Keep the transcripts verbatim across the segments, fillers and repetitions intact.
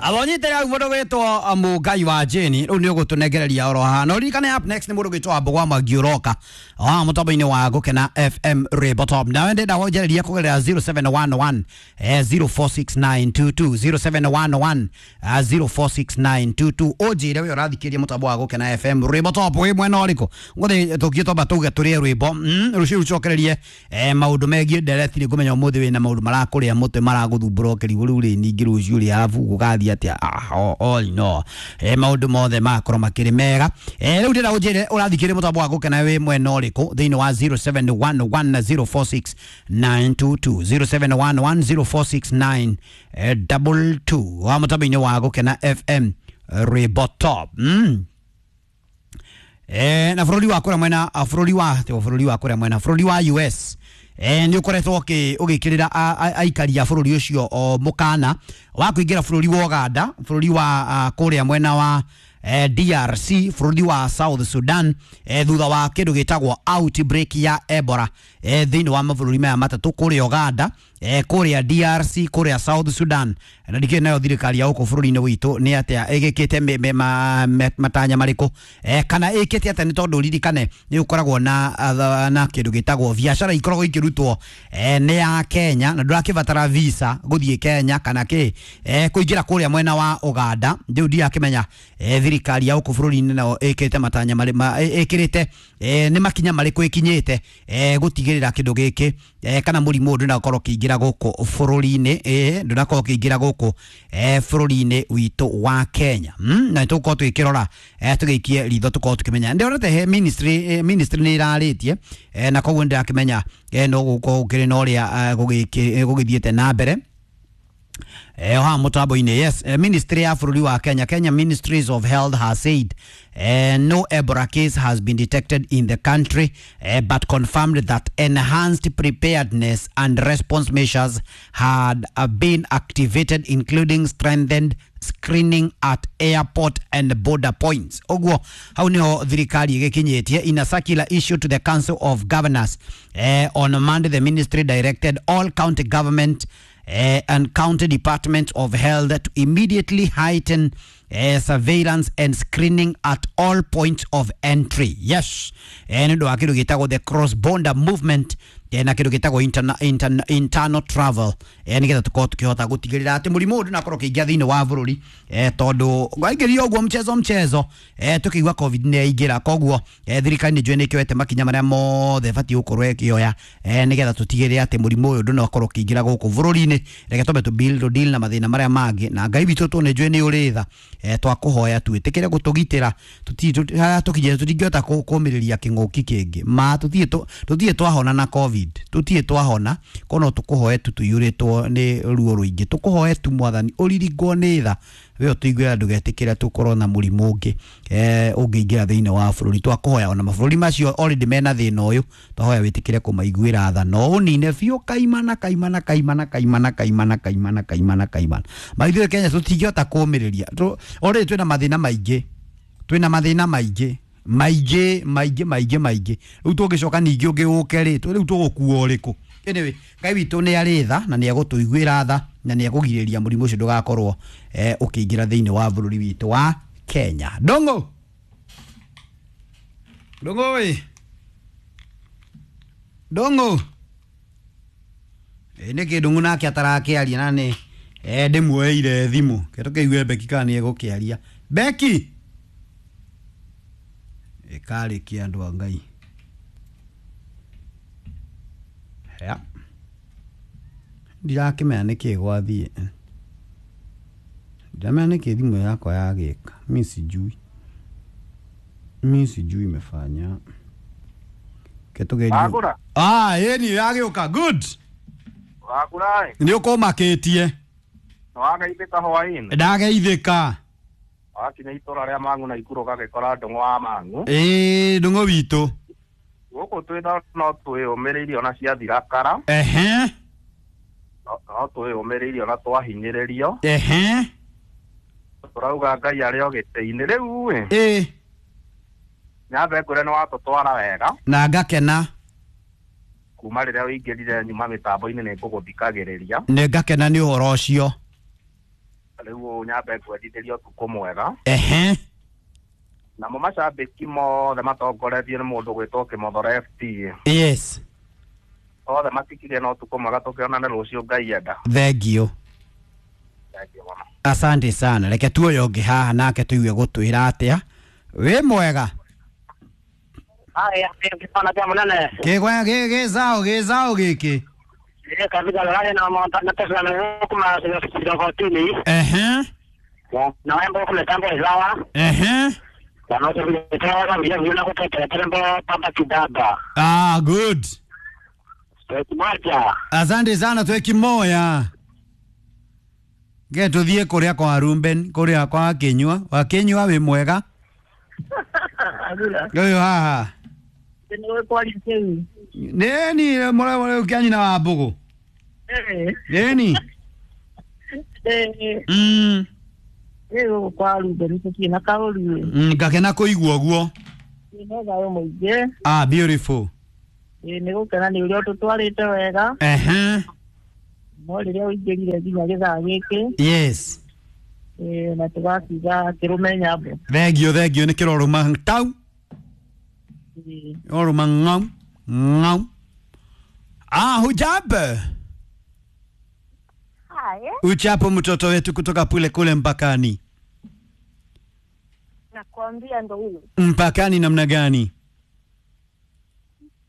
Abonyite rau mundu gwitwo Mungai wa Jane riu ni ugutunengereria oro haha no ririkane up next ni mundu gwitwo Wambo wa Mwangi uroka wa mutambo-ini wa Gukena F M Rwimbo Top. Nawe ndenda wanjĩrĩria kũgerera zero seven one one zero four six nine two two zero seven one one zero four six nine two two ũnjĩre we ũrathikĩria mũtambo wa Gukena F M Rwimbo Top wĩ mwena ũrĩkũ ngũthĩ tũthiĩ twamba tuge tũrĩe rwĩmbo rũciũ rũcokererie maũndũ megiĩ ndereti nĩ ngũmenya ũmũthĩ wĩna maũndũ marakũrĩa mũtwe maragũthumbũra ũkĩrigwo rĩu rĩ ningĩ rũciũ rĩ arabu gũgathiĩ atĩa. Ah, all no eh maũndũ mothe makorwo makĩrĩ mega. Eh rĩu ndĩrenda ũnjĩre ũrathikĩrĩria mũtambo wa Gukena wĩ mwena ũrĩkũ thĩinĩ wa zero seven one one zero four six nine two two zero seven one one zero four six nine double two wa mũtambo-inĩ wa Gukena F M Rwimbo Top. Mm. Eh na bũrũri wa kũrĩa mwena bũrũri wa bũrũri wa kũrĩa mwena bũrũri wa U S eh nĩ ũkoretwo ũgĩkĩrĩra aikari a bũrũri ũcio mũkana wa kũingĩra bũrũri wa Uganda, bũrũri wa kũrĩa mwena wa D R C, bũrũri wa South Sudan eh, thutha wa kĩndũ gĩtagwo outbreak ya Ebola eh, thĩinĩ wa mabũrũri maya matatũ kũrĩa Uganda, eh, kũrĩa D R C, kũrĩa South Sudan. Na ndikĩũĩ nayo thirikari ya gũkũ bũrũri-inĩ witũ nĩ atĩa ĩgĩkĩte matanya marĩkũ eh, kana ĩkĩte atĩa, nĩ tondũ ririkane nĩ gũkoragwo na na kĩndũ gĩtagwo biacara ikoragwo ikĩrutwo eh, nĩ ya Kenya na ndũrakĩbatara visa gũthiĩ Kenya kana kĩ eh, kũingĩra kũrĩa mwena wa Uganda. Rĩu ndirakĩmenya eh, thirikari ya gũkũ bũrũri-inĩ nayo ĩkĩte matanya marĩ ĩkĩrĩte nĩ makinya marĩkũ ĩkinyĩte gũtigĩrĩra kĩndũ gĩkĩ kana mũrimũ ũyũ ndũnakorwo ũkĩingĩra gũkũ bũrũri-inĩ, ndũnakorwo ũkĩingĩra gũkũ bũrũri-inĩ witũ wa Kenya. Na nĩtũgũkorwo tũgĩkĩrora tũgĩikie ritho tũkorwo tũkĩmenya. Ndĩronete he ministry ministry nĩ ĩrarĩtie na koguo nĩndĩrakĩmenya no gũkorwo gũkĩrĩ na ũrĩa gũgĩthiĩte na mbere. Eh, ha mutambo-inĩ. Yes, eh, Ministry ya bũrũri wa Kenya, Kenya Ministries of Health has said eh, no Ebola case has been detected in the country, eh, but confirmed that enhanced preparedness and response measures had uh, been activated, including strengthened screening at airport and border points. Oguo hau niho thirikari ĩgĩkinyĩtie. In a circular issued to the Council of Governors eh, on Monday, the ministry directed all county government Uh, and county departments of health to immediately heighten uh, surveillance and screening at all points of entry. Yes, nĩ ũndũ wa kĩndũ gĩtagwo the cross border movement na kĩndũ gĩtagwo interna, interna, internal travel, nĩgetha tũkorwo tũkĩhota gũtigĩrĩra atĩ mũrimũ ũyũ ndũnakorwo ũkĩingĩra thĩinĩ wa bũrũri, tondũ waingĩrio ũguo mchezo mchezo tũkĩigua COVID nĩ yaingĩra. Koguo thirikari nĩ njũĩ nĩ ĩkĩoete makinya marĩa mothe ĩbatiĩ gũkorwo ĩkĩoya nĩgetha tũtigĩrĩre atĩ mũrimũ ũyũ ndũnakorwo ũkĩingĩra gũkũ bũrũri-inĩ. Reke twambe tũ build deal na mathĩna marĩa mangĩ, na Ngai witũ tũ nĩ njũĩ nĩ ũrĩ tha, twakũhoya twĩtĩkĩre gũtũgitĩra harĩa tũkinyĩte tũtingĩhota kũmĩrĩria kĩng'ũki kĩngĩ ma tũtirĩ twahona na COVID, tũtirĩ twahona kono tũkũhoe tu tũiyũrĩtwo nĩ ruo rũingĩ, tũkũhoe tu Mwathani ũririkwo nĩ tha we ũtũiguĩra ndũgetĩkĩre tũkorwo na mũrimũ ũngĩ ũngĩingĩra thĩinĩ wa bũrũri. Twakũhoya ona mabũrũri macio already mena thĩna ũyũ, twahoya wĩtĩkĩre kũmaiguĩra tha no ũnine biũ kaimana kaimana kaimana kaimana kaimana kaimana kaimana kaimana. Maithuĩ Kenya tũtingĩhota kũmĩrĩria, already twĩna mathĩna maingĩ, twĩna mathĩna maingĩ maingĩ maingĩ maingĩ maingĩ. Rĩu tũngĩcoka ningĩ ũngĩ ũke rĩ, rĩu tũgũkua ũrĩkũ? Anyway, Ngai witũ nĩ arĩ tha na nĩ egũtũiguĩra tha na nĩ ekũgirĩrĩria mũrimũ ũcio ndũgakorwo ũkĩingĩra thĩinĩ wa bũrũri witũ wa Kenya. Ndũng'ũ, Ndũng'ũ ĩ, Ndũng'ũ ĩ, nĩkĩ Ndũng'ũ nake atarakĩaria na nĩ ndĩmuoeire thimũ ke tũkĩigue Beki kana nĩ egũkĩaria. Beki ĩkarĩkia andũ a Ngai. Ya ndirakĩmenya nĩkĩ gwathiĩ, ndiramenya nĩkĩ thimũ yakwa yagĩka. Mi sijui, mi sijui imefanya ketũgerie. Ah, ĩni yagĩũka. Good, wagũra nĩ ũkũmakĩtie. Nĩwageithĩka hwaĩ-inĩ? Ndageithĩka. Wakinya itũra rĩa Mang'u na Ikuru ũgagĩkora Ndũng'ũ wa Mang'u. Ĩĩ, Ndũng'ũ witũ gũkũ twĩ no twĩyũmĩrĩirie ona ciathira kara. Ehe, no twĩyũmĩrĩirie ona twahinyĩrĩrio. Ehe, tũrauga Ngai arĩ o gĩtĩ-inĩ rĩu ĩ. Ĩĩ, Nyambe ngwĩre nĩ watũtwara wega na ngakena kuma rĩrĩa ũingĩrire nyuma mĩtambo-inĩ nĩ ngũgũthikagĩrĩria. Nĩ ngakena nĩ ũhoro ũcio. Rĩu kũu nyambe ngwendithĩrie ũtukũ mwega. Ehe. Namo macambĩki mothe matongoretio nĩ mũndũ gwĩtwo Kĩmothoro F T. Yes. Othe matikire na ũtukũ mwega, tũkĩonane rũciũ Ngai enda. Thank you. Thank you mũno. Asante sana. Reke tuoyo ũngĩ haha nake tũigue gũtwĩra atĩa. Wĩ mwega? Haya, kĩona kĩa mũnene. Kĩgwa gĩ gĩcaũ gĩcaũ gĩkĩ. Ĩ kabisa lale na monta na pesa na kuma sio Ehe. Na wembo kumetambo izawa. Ehe. Na note vile vile vile kutetea tembo pamba kidaba. Ah, good. Moja. Asante sana, twekimoya. Ge tuthie kuria kwa Ruben, kuria kwa Kinyua. Wa Kinyua wi mwega? Uyu haha. Neni mora mora ukianyina wa mbugu. Neni. Mm. Kwa Ruben tutirĩ na kaũru. Mm, ngakena kũigua ũguo. Nĩ thayũ mũingĩ. Ah, beautiful. Ĩ nĩ gũkena nĩ ũrĩa ũtũtwarĩte wega. Ehe. No rĩrĩa ũingĩrire nginya gĩthaa gĩkĩ. Yes. Ĩ na tũgakiuga kĩrũme nyambo. Thengio, thengio nĩ kĩrorũma tau. Orũma ng'au ng'au. Ah, hujambo? Haya. Uchapo mtoto wetu kutoka pule kule mpakani. Nakwambia ndo huyo. Mpakani namna gani?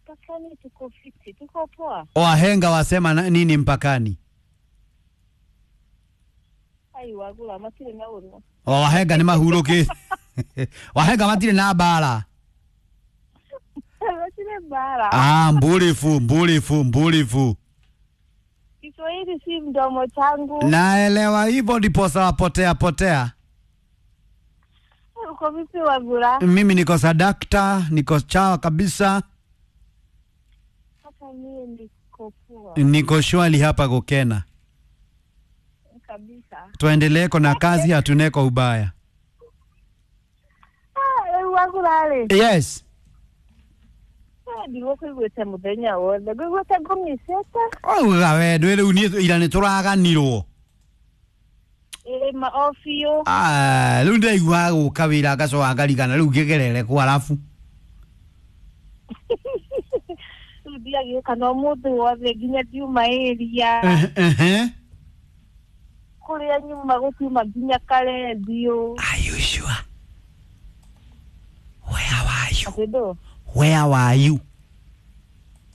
Mpakani tuko fiti, tuko poa. Wahenga wasema na, nini mpakani? Ai wagula matire na uru. Wahenga ni mahuruki. Wahenga matire na bara. Matire bara. Ah, mbulifu, mbulifu, mbulifu. Kiswahili si mdomo changu. Naelewa hivyo ndipo sawa potea potea. Uko vipi Wagula? Mimi niko sadakta, niko chawa kabisa. Hata mimi niko poa. Niko shwali hapa Gokena. Kabisa. Tuendelee na kazi, hatuneko ubaya. Ah, Wagula ale. Yes. Ndigwo kuiguĩte mũthenya wothe ngũiguĩte ngũmicĩte. Auga we ndwĩ rĩu niĩ ira nĩtũraganirwo. Ĩ ma o biũ. Ah, rĩu ndĩraigua gũka wĩra ngacoka ngarigana rĩu ngĩgerere kũ arabu. Rĩu ndiagĩũka na ũmũthĩ wothe nginya ndiuma area. Ehe. Kũrĩa nyuma gũtiuma nginya karendio. Are you sure? Where were you? Atĩ Where were you?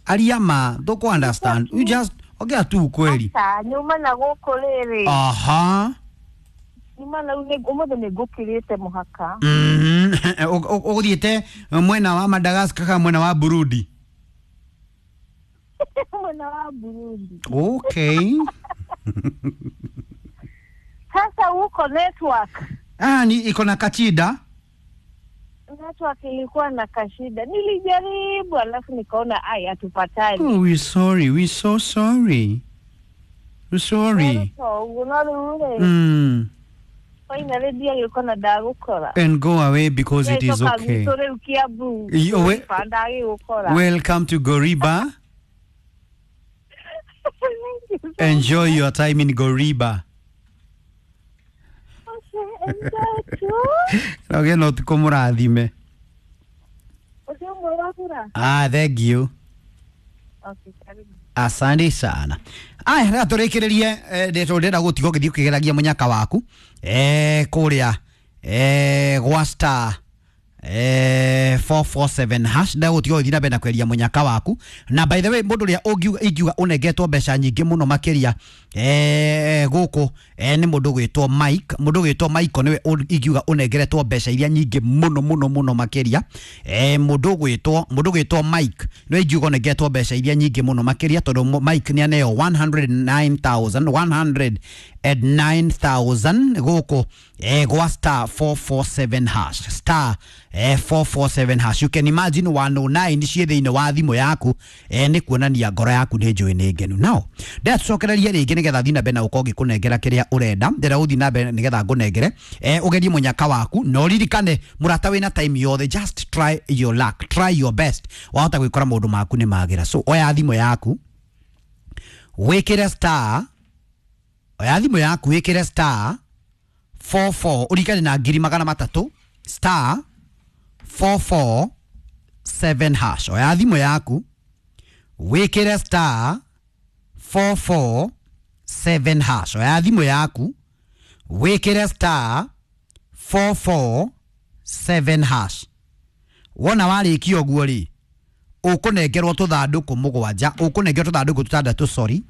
Ariama, don't understand. You just okay tu kweli. Acha, nyuma na gũkũ rĩrĩ. Aha. Nyuma na rĩu ũmũthĩ nĩ ngũkĩrĩte mũhaka. Mhm. Ũgũthiĩte mwena wa Madagascar kana mwena wa Burundi? Mwena wa Burundi. Okay. Sasa huko network. Ah, ni iko na kachida. Network ilikuwa na kashida. Nilijaribu alafu nikaona ai hatupatani. Oh, we sorry, we so sorry. We sorry. Mm. And go away because it is okay. You, welcome to Goriba. Enjoy your time in Goriba. Okay, enjoy too. Okay, no tukomurathime. Ah, thank you. Okay, karibu. Asante sana. Aya, reka tũrĩkĩrĩrie ndĩtũ ndĩrenda gũtiga ũgĩthiĩ ũkĩgeragia mũnyaka waku eh kũrĩa eh gwa star eh four four seven hash ndagũtiga ũgĩthiĩ na mbere na kweria mũnyaka waku. Na by the way, mũndũ ũrĩa ũngiuga ingiuga ũnengetwo mbeca nyingĩ mũno makĩria eh gũkũ eh nĩ mũndũ ũgwĩtwo Mike. Mũndũ ũgwĩtwo Mike nĩwe ingiuga ũnengeretwo mbeca iria nyingĩ mũno mũno mũno makĩria. Eh mũndũ ũgwĩtwo mũndũ ũgwĩtwo Mike nĩwe ingiuga ũnengetwo mbeca iria nyingĩ mũno makĩria tondũ Mike nĩ aneo one hundred nine thousand one hundred nine thousand gũkũ eh gwa star four four seven hash star eh four four seven hash. You can imagine one oh nine ciĩ thĩinĩ wa thimũ yaku eh nĩ kuonania ngoro yaku nĩ njũĩ nĩ ngenu. Now ndĩracokereria rĩngĩ nĩgetha thiĩ na mbere na gũkorwo ngĩkũnengera kĩrĩa ũrenda. Ndĩrenda gũthiĩ na mbere nĩgetha ngũnengere eh ũgerie mũnyaka waku na ũririkane mũrata wĩna time yothe, just try your luck, try your best, wahota gwĩkora maũndũ maku nĩ magĩra. So oya thimũ yaku wĩkĩre star, oya thimũ yaku wĩkĩre star four four urikane na ngiri magana matatu star four four seven hash. Oya thimũ yaku wĩkĩre star four four seven hash. Oya thimũ yaku wĩkĩre star four four seven hash. Wona warĩkia ũguo rĩ, ũkũnengerwo tũthandũkũ mũgwanja, ũkũnengerwo tũthandũkũ tũtandatũ, sorry,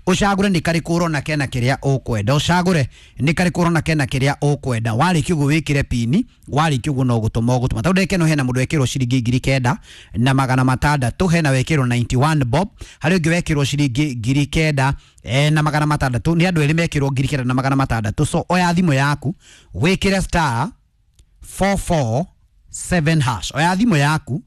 ũcagũre nĩ karĩkũ ũrona kena kĩrĩa ũkwenda, ũcagũre nĩ karĩkũ ũrona kena kĩrĩa ũkwenda. Warĩkia ũguo wĩkĩre pini, warĩkia ũguo no gũtũma ũgũtũma. Tondũ ndagĩka ĩno hena mũndũ wekĩrwo ciringi ngiri kenda na magana matandatũ, hena wekĩrwo ninety one bob, harĩ ũngĩ wekĩrwo ciringi ngiri kenda eh, na magana matandatũ. Nĩ andũ erĩ mekĩrwo ngiri kenda na magana matandatũ. So oya thimũ yaku wĩkĩre star four four seven hash. Oya thimũ yaku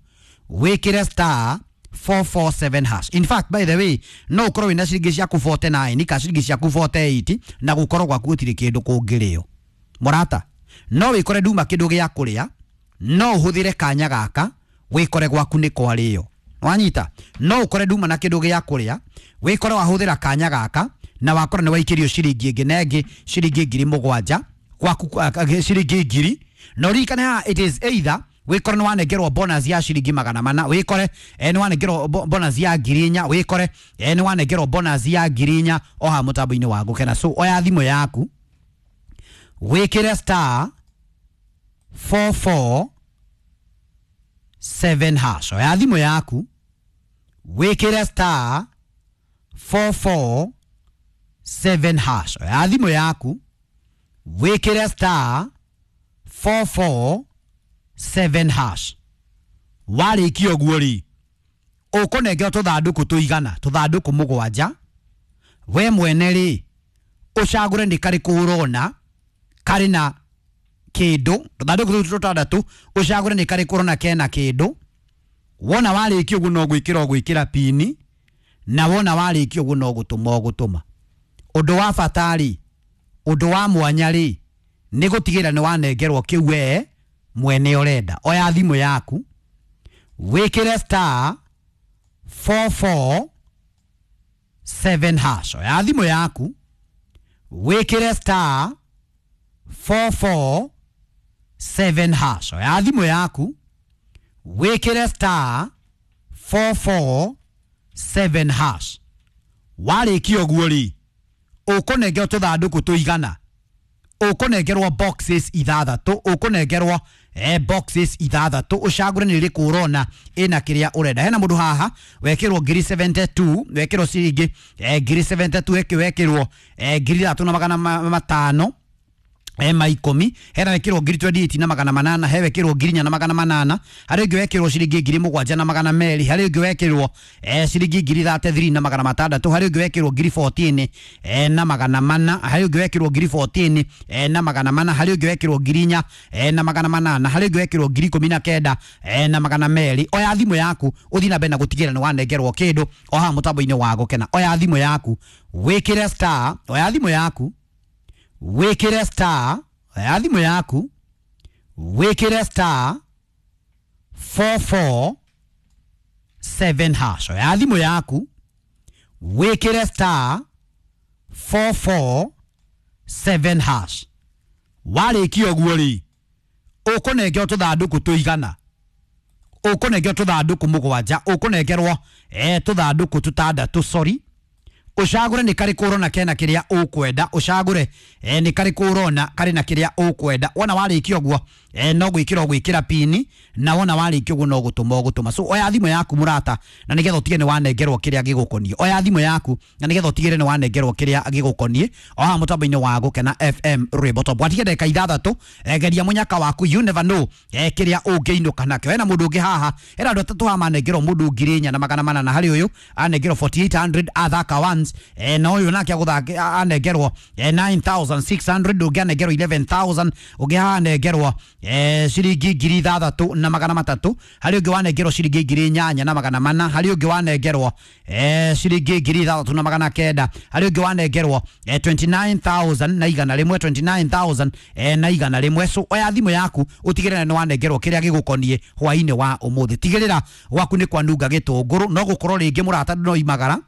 wĩkĩre star four four seven hash. In fact, by the way, no ukorwo wina ciringi ciaku forty nine ka ciringi ciaku forty eight na gukorwo gwaku gutiri kindu kungirio. Murata, no wikore nduma kindu gia kuria, no uhuthire kanya gaka wikore gwaku ni kwario. Wanyita, no ukore nduma na kindu gia kuria, wikore wahuthira kanya gaka na wakora ni waikirio ciringi ingi na ingi ciringi ngiri mugwanja gwaku ciringi ngiri. No ririkane haha it is either wikore ni wanengerwo bonus ya ciringi magana mana, wikore eh, ni wanengerwo bonus ya ngiri inya, wikore eh, ni wanengerwo bonus ya ngiri inya o ha mutambo-inĩ wa Gũkena. So oya thimũ yaku wikire star four four seven hash. Oya thimũ yaku wikire star four four seven hash. Oya thimũ yaku wikire star four four seven hash. Warĩkia ũguo rĩ, ũkũnengerwo tũthandũkũ tũigana, tũthandũkũ mũgwanja. We mwene rĩ, ũcagũre nĩ karĩkũ ũrona karĩ na kĩndũ, tũthandũkũ tũtũ tũtandatũ, ũcagũre nĩ karĩkũ ũrona kena kĩndũ. Wona warĩkia ũguo no gwĩkĩra ũgwĩkĩra pini, na wona warĩkia ũguo no gũtũma ũgũtũma. Ũndũ wa bata rĩ, ũndũ wa mwanya rĩ, nĩ gũtigĩrĩra nĩ wanengerwo kĩu we mwene ũrenda. Oya thimũ yaku wĩkĩre star four four seven hash. Oya thimũ yaku wĩkĩre star four four seven hash. Oya thimũ yaku wĩkĩre star four four seven hash. Warĩkia ũguo rĩ, ũkũnengerwo tũthandũkũ tũigana, ũkũnengerwo boxes ithathatũ, ũkũnengerwo eh, boxes ithathatũ, ũcagũre nĩ rĩrĩkũ ũrona ĩna kĩrĩa ũrenda. Hena mũndũ haha wekĩrwo ngiri seventy two, wekĩrwo ciringi eh, ngiri seventy two, ĩkĩ wekĩrwo eh, ngiri ithatũ na magana matano eh, ma ikũmi. Hena wekĩrwo ngiri twenty eight na magana manana, he wekĩrwo ngiri inya na magana manana, harĩ ũngĩ wekĩrwo ciringi ngiri mũgwanja na magana merĩ, harĩ ũngĩ wekĩrwo eh, ciringi ngiri thirty three na magana matandatũ, harĩ ũngĩ wekĩrwo ngiri fourteen eh, na magana mana, harĩ ũngĩ wekĩrwo ngiri fourteen eh, na magana mana, harĩ ũngĩ wekĩrwo ngiri inya eh, na magana manana, harĩ ũngĩ wekĩrwo ngiri ikũmi na kenda eh, na magana merĩ. Oya thimũ yaku ũthiĩ na mbere na gũtigĩrĩra nĩ wanengerwo kĩndũ o haha mũtambo-inĩ wa Gũkena. Oya thimũ yaku wĩkĩre star, oya thimũ yaku wĩkĩre star, oya thimũ yaku wĩkĩre star four four seven hash. Oya thimũ yaku wĩkĩre star four four seven hash. Warĩkia ũguo rĩ, ũkũnengerwo tũthandũkũ tũigana, ũkũnengerwo tũthandũkũ mũgwanja, ũkũnengerwo eh, tũthandũkũ tũtandatũ, sorry, ũcagũre nĩ karĩkũ ũrona kena kĩrĩa ũkwenda, ũcagũre eh, nĩ karĩkũ ũrona karĩ na kĩrĩa ũkwenda. Wona warĩkia ũguo eh, no gwĩkĩra ũgwĩkĩra pini, na wona warĩkia ũguo no gũtũma ũgũtũma. So oya thimũ yaku mũrata, na nĩgetha ũtige nĩ wanengerwo kĩrĩa gĩgũkoniĩ. Oya thimũ yaku na nĩgetha ũtigĩrĩre nĩ wanengerwo kĩrĩa gĩgũkoniĩ o haha mũtambo-inĩ wa Gũkena F M Rwĩmbo Top. Watige ndagĩka ithathatũ, eh, geria mũnyaka waku, you never know eh, kĩrĩa ũngĩinũka nakĩo. Hena mũndũ ũngĩ haha, hena andũ atatũ haha manengerwo mũndũ ngiri inya na magana manana, harĩ ũyũ anengerwo forty eight hundred athaka once, eh, na ũyũ nake agũthaka anengerwo eh, nine thousand six hundred, ũngĩ anengerwo eleven thousand, ũngĩ haha anengerwo eh, ciringi ngiri ithathatũ na magana matatũ, harĩ ũngĩ wanengerwo ciringi ngiri inyanya na magana mana, harĩ ũngĩ wanengerwo eh, ciringi ngiri ithathatũ na magana kenda, harĩ ũngĩ wanengerwo eh, twenty nine thousand na igana rĩmwe, twenty nine thousand eh, na igana rĩmwe. So oya thimũ yaku ũtigĩrĩre nĩ wanengerwo kĩrĩa gĩgũkoniĩ hwaĩ-inĩ wa ũmũthĩ. Tigĩrĩra gwaku nĩ kwanunga gĩtũngũrũ, no gũkorwo rĩngĩ mũrata no imagara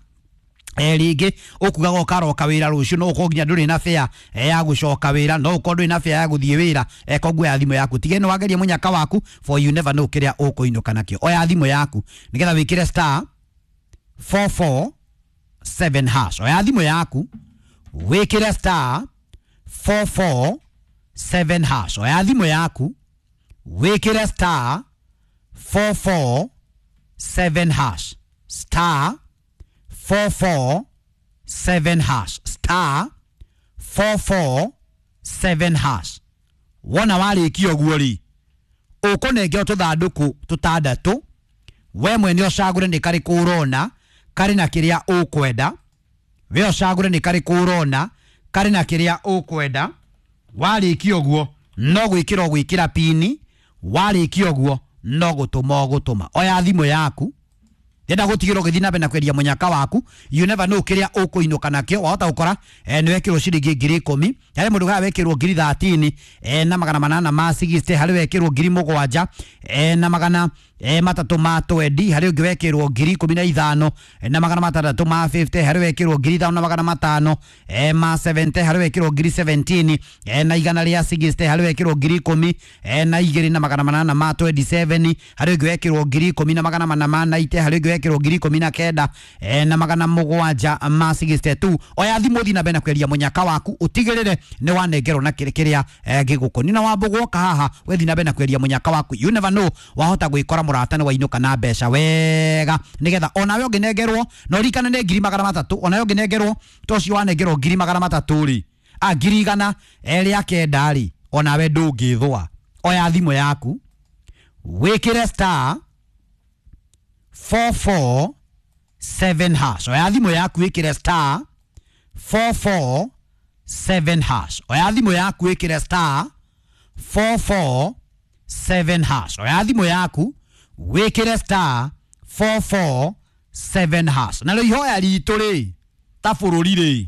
Eh ringi ukugaga ukaroka wira rucio no ukorwo nginya nduri na fare ya gucoka wira no ukorwo nduri na fare ya guthie wira eh koguo ya thimu yaku tige no wagerie munyaka waku for you never know kiria ukuinuka nakio. Oya thimu yaku nigetha wikire star four four seven hash. Oya thimu yaku wikire star four four seven hash. Oya thimu yaku wikire star four four seven hash. Star four four seven hash. Star four four seven hash. Wona warĩkia ũguo rĩ, ũkũnengerwo tũthandũkũ tũtandatũ, we mwene ũcagũre nĩ karĩkũ ũrona karĩ na kĩrĩa ũkwenda. We ũcagũre nĩ karĩkũ ũrona karĩ na kĩrĩa ũkwenda. Warĩkia ũguo no gwĩkĩra ũgwĩkĩra pini, warĩkia ũguo no gũtũma ũgũtũma. Oya thimũ yaku, ndenda gutigirwo githii na mbere na kwendia munyaka waku. You never know kiria ukuinuka nakio. Wahota gukora eh, ni wekirwo ciringi ngiri ikumi, hari mundu gara wekirwo ngiri thirteen eh, na magana manana ma sixty, hari wekirwo ngiri mugwanja eh, na magana eh, matatu ma twenty, hari ungi wekirwo ngiri ikumi na ithano eh, na magana matandatu ma fifty, hari wekirwo ngiri ithano na magana matano eh, ma seventy, hari wekirwo ngiri seventeen eh, na igana ria sixty, hari wekirwo ngiri ikumi eh, na igiri na magana manana ma twenty-seven, hari ungi wekirwo ngiri ikumi na magana mana ma ninety, hari ungi wekirwo ngiri ikumi na kenda eh, na magana mugwanja ma sixty-two. Oya thimu thi na mbere na kweria munyaka waku utigirire ni wanengerwo na kiri kiria eh, gigukoni na wambugwoka haha wethi na mbere na kweria munyaka waku. You never know, wahota gwikora murata ni wainuka na mbeca wega nigetha onawe unginengerwo na urikane ni ngiri magana matatu, onawe unginengerwo to cio wanengerwo ngiri magana matatu ri a ngiri igana ria kenda ri onawe ndungithwa. Oya thimu yaku wikire star four four seven hash. Oya thimu yaku wikire star four four seven hash. Oya thimu yaku wikire star four four seven hash. Oya thimu yaku wikire star four four seven hash. Na rĩu ihoya ritũ rĩ ta bũrũri rĩ